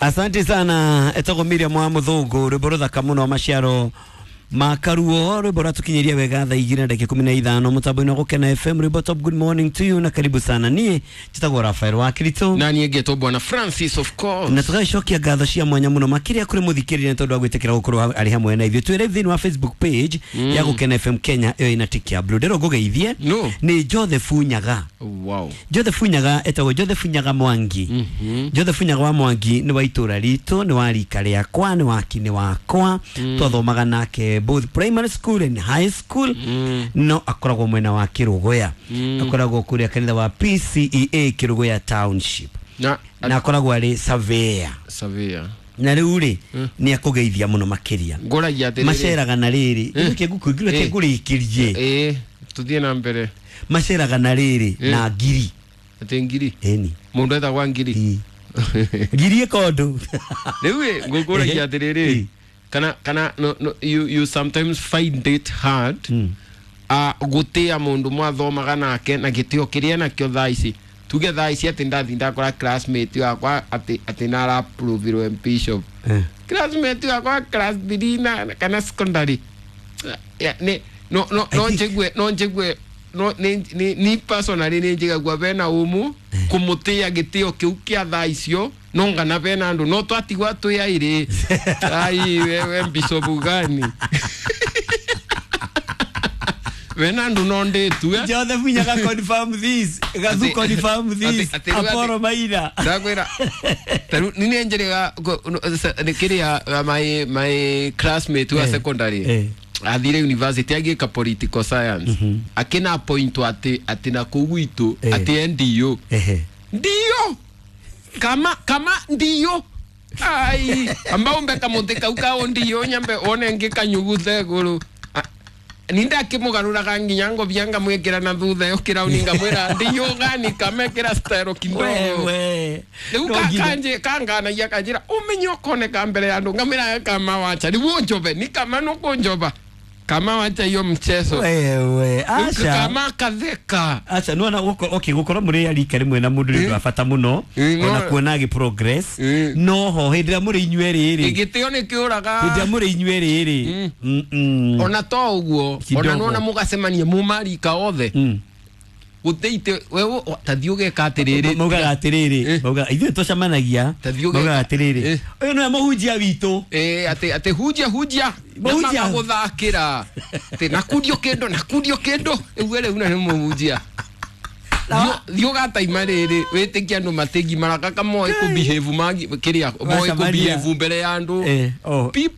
Asante sana, etagwo Miriam wa Muthungu, rwimbo ruthaka muno, maciaro makaruo, rwimbo rwatukinyiria wega thaa 2:15 mutambo-inĩ wa Gũkena FM, rwimbo top. Good morning to you na karibu sana. Niĩ njĩtagwo Rafael wa Kirito. Na niĩ ngetwo Bwana Francis, of course. Na tũgagĩcokia ngatho cia mwanya mũno makĩria kũrĩ mũthikĩrĩria nĩ tondũ wa gwĩtĩkĩra gũkorwo arĩ hamwe na ithuĩ. Twĩ live thĩinĩ wa Facebook page ya Gũkena FM Kenya, ĩyo ĩna tick ya blue. Ndĩrwo ngũgeithie. No. Nĩ Joseph Nyaga. Joseph Nyaga, etagwo Joseph Nyaga Mwangi. Joseph Nyaga wa Mwangi nĩ wa itũra ritũ, nĩ wa rika rĩakwa, nĩ wa kinĩ wakwa. Twathomaga nake both primary school and high school, no akoragwo mwena wa Kĩrũgũya, akoragwo kũrĩa kanitha wa PCEA Kĩrũgũya Township. Na Na akoragwo arĩ surveyor. Surveyor. Na rĩu rĩ, nĩ akũgeithia mũno makĩria. Ngũragia atĩrĩrĩ. Maceraga na rĩrĩ, reke ngũrĩkĩrie. Ĩĩ, tuthiĩ na mbere. Maceraga na rĩrĩ na ngiri. Atĩ ngiri? Ĩni. Mũndũ etagwa ngiri? Ĩ. Ngiri ĩkondũ. Rĩu ĩ, ngũkũragia atĩrĩrĩ, kana no, you sometimes find it hard gũtĩa mũndũ mwathomaga nake na gĩtĩo kĩrĩa nakĩo thaa ici? Tuge thaa ici atĩ ndathi ndakora classmate wakwa atĩ naraprovirwo bishop, classmate wakwa class 3 na kana secondary. Ya, nĩ no I no think- njĩgue no ni personally nĩ njigagua bena umu kũmũtĩa gĩtĩo kĩu kĩa thaa icio, no ngana bena andũ no twatigwa twĩ airĩ, ai wewe bishop gani, bena andũ no ndĩtue. Joseph Nyaga, confirm this. Gathu, confirm this. Apollo Maina. Ndakwĩra tarĩu nĩ njĩrĩga kĩrĩa my classmate wa secondary athire university agĩka political science, akĩna point atĩ na kũu gwitũ atĩ ndio ndio kama ndio ai amba umbe kamuti kau kao ndio nyambe one ngĩkanyuguthe igũrũ. Nindakĩmũgarũraga nginya ngobia ngamwĩkĩra na thutha ĩyo kĩrauni, ngamwĩra ndio gani kamekĩra style kidogo. Wewe. Rĩu No nginya- kanje kanganagia kanjĩra ũmenye ũkoneka mbere ya andũ, ngamwĩra kama wacha rĩu ũnjobe ni kama nũkũnjoba, kama wacha hiyo mchezo. Wewe. Rĩu Aca. kama katheka. Aca, nona okay, gukorwo muri arika rimwe na mundu nĩ ũndũ wa bata muno, ona kuona agi progress, no ho hĩndĩ ĩrĩa mũrĩ inyuerĩ rĩ, gĩtĩo nĩ kĩũraga. Hĩndĩ ĩrĩa mũrĩ inyuerĩ rĩ. Ona to ũguo, Kidogo. ona nona mũgacemania mũmarika othe, gũtĩite wewe tathiĩ ũgeka atĩrĩrĩ. Maugaga atĩrĩrĩ, maugaga ithuĩ tũcemanagia, Ta thiĩ maugaga atĩrĩrĩ, ũyũ nĩwe mũhunjia witũ. Ĩ, atĩ hunjia hunjia. Mũhunjia. Gũthakĩra atĩ nakundio kĩndũ, nakundio kĩndũ ĩuge rĩu na nĩ mũhunjia. Thiĩ ũgataima rĩrĩ wĩtĩkie andũ matĩngimara kaka moĩ kũbehave magi kĩrĩa moĩ Wacemania. kũbehave mbere ya andũ. Oh. People.